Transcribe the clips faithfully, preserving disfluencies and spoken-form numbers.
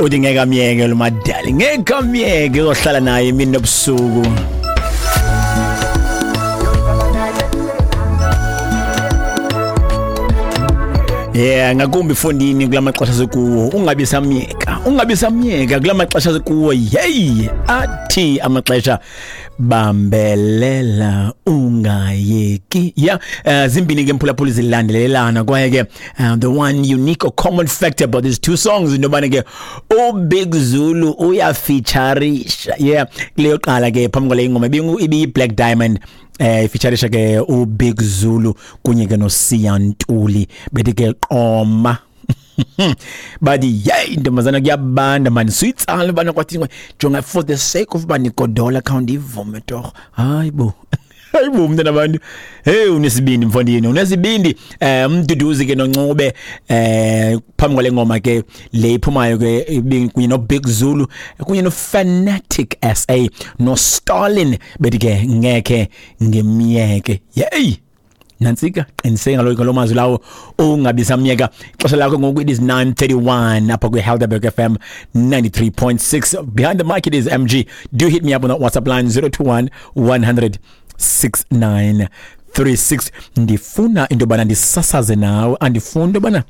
Uthi ngeke amyeke lo madali, ngeke amyeke, uzohlala naye imini nobusuku. Yeah, ngakumbi fondini kula maxesha sekuwo, ungabi samyeka, ungabi samyeka kula maxesha sekuwo. Hey, athi amaxesha bambelela ungayeki. Yeah, uh, zimbini ke mphulaphula zilandelelana kwaye ke uh, the one unique or common factor about these two songs into yobana ke uBig Zulu uyafeaturisha. Yeah, kuleyo qala ke phambi kwale ingoma ibi Black Diamond eh featurisha ke uBig Zulu kunye ke noSiya Ntuli bethi ke qoma. Bathi yey ntombazana kuyabanda man, suyitsala bana kwathi jonga for the sake of banigodola count ivume torho. Hayibo, hayibo mntana abantu, hey unesibindi mfondini, unesibindi. Eh umduduzi ke noNcube eh phambi kwale ngoma ke le iphumayo ke kunye no Big Zulu kunye no Fanatic S A no Stalin bethi ke ngeke ngemiyeke. Yey nantsika, qiniseka ngalo ngalo mazwi lawo, ungabi samyeka. Ixesha lakho ngoku it is nine thirty-one apha kwi Helderberg F M ninety-three point six. Behind the mic it is M G. Do hit me up on that WhatsApp line zero two one, one hundred, six nine three six. Ndifuna into yobana ndisasaze nawe, andifuni into yobana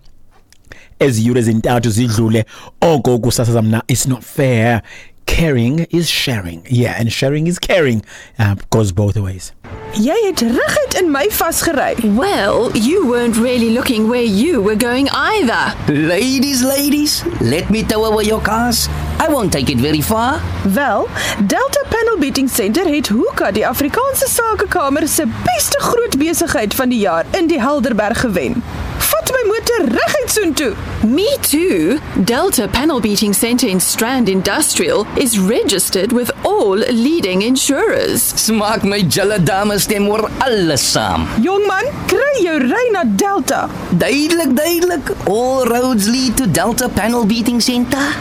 ezi yure zintathu zidlule oko kusasaza mna. It's not fair. Caring is sharing. Yeah, and sharing is caring. Uh, goes both ways. Jy het reguit in my vasgery. Well, you weren't really looking where you were going either. Ladies, ladies, let me tow away your cars. I won't take it very far. Wel, Delta Panel Beating Center het Hoeka, die Afrikaanse Sakekamer se beste groot besigheid van die jaar in die Helderberg gewen. Vat my motor reguit soontoe. Me too. Delta Panel Beating Center in Strand Industrial is registered with all leading insurers. Smaak my julle dames stem oor alles saam. Jongman, kry jou ry na Delta. Duidelik, duidelik. All roads lead to Delta Panel Beating Center.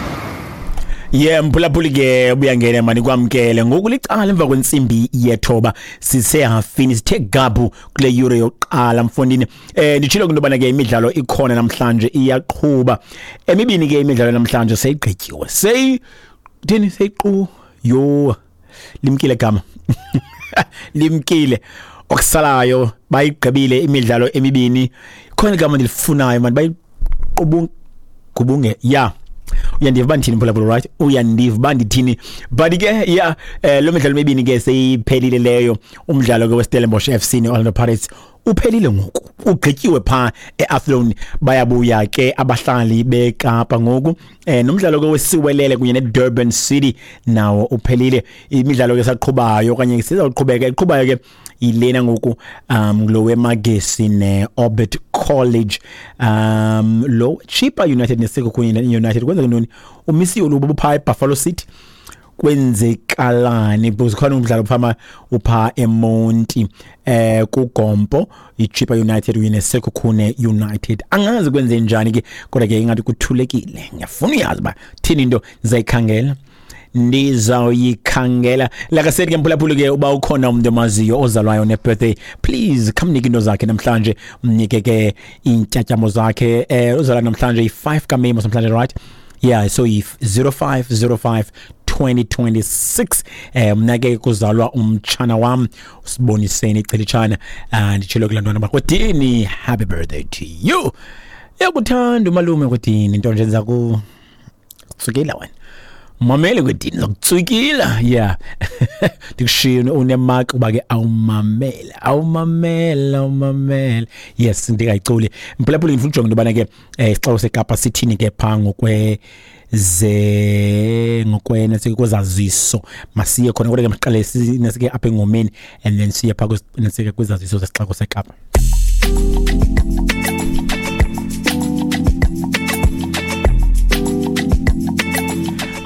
Yeah, mphulaphuli ke ubuyangena mani kwamkele ngoku licala emva kwentsimbi yethoba sisehafini sithe gabhu kule yure yokuqala mfondini. Eh nditshilo into yobana ke imidlalo ikhona namhlanje iyaqhuba. Emibini ke imidlalo namhlanje seyigqityiwe. Sey thini seyiqu yo limkile gama. Limkile okusalayo bayigqibile imidlalo emibini. Khona igama ndilifunayo mani bayiqubunge gubunge yeah. Uyandiva uba ndithini mphulaphula, right? Uyandiva uba ndithini. But ke yeah, eh lo midlalo mibini ke seyiphelile leyo. Umdlalo ke weStellenbosch F C neOrlando Pirates uphelile ngoku, ugqityiwe pha eAthlone. Bayabuya ke abahlali beKapa ngoku. Eh nomdlalo ke weSiwelele kunye neDurban City nawo uphelile. Imidlalo ke saqhubayo okanye sizawuqhubeka iqhubayo ke ilena ngoku um lo weMagesi neOrbit College, um lo Chippa United neSekhukhune United. Kwenzeka ntoni? Umisiwe lo bupha eBuffalo City. Kwenzekalani? Because khona umdlalo phama upha eMonti eh kuGompo, iChippa United kunye neSekhukhune United. Angazi kwenze njani ke, kodwa ke ingathi kuthulekile. Ngiyafuna uyazi ba thini into ndizayikhangela. Ndizawuyikhangela. Like I said ke mphulaphuli ke uba ukhona umuntu omaziyo ozalwayo ne-birthday, please khamnike into zakhe namhlanje, mnike ke iintyatyambo zakhe. Eh uzalwa namhlanje i-five kaMeyi namhlanje, right? Yeah, so i-zero five zero five twenty twenty-six. Eh mna ke kuzalwa umtshana wam usiboniseni ichelitshana. Nditshilo kulaa ntwana bakwedini, happy birthday to you. Uyakuthanda umalume kwedini, into nje ndiza kutsukela wena. Mamele kwedini zakutsukila. Yeah. Ndikushiye unemark uba ke awumamela, awumamela, awumamela. Yes, ndingayiculi. Mphulaphuli ndifuna ujonga into yobana ke isixeko seKapa sithini ke phaa ngokwe ze ngokwena sikwezaziso. Masiye khona kodwa ke masiqale nasike apha engomeni and then siye phaa nasike kwizaziso zesixeko seKapa.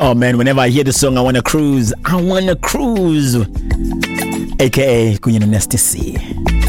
Oh man, whenever I hear this song, I wanna cruise. I wanna cruise. A K A kunye no Nasty C.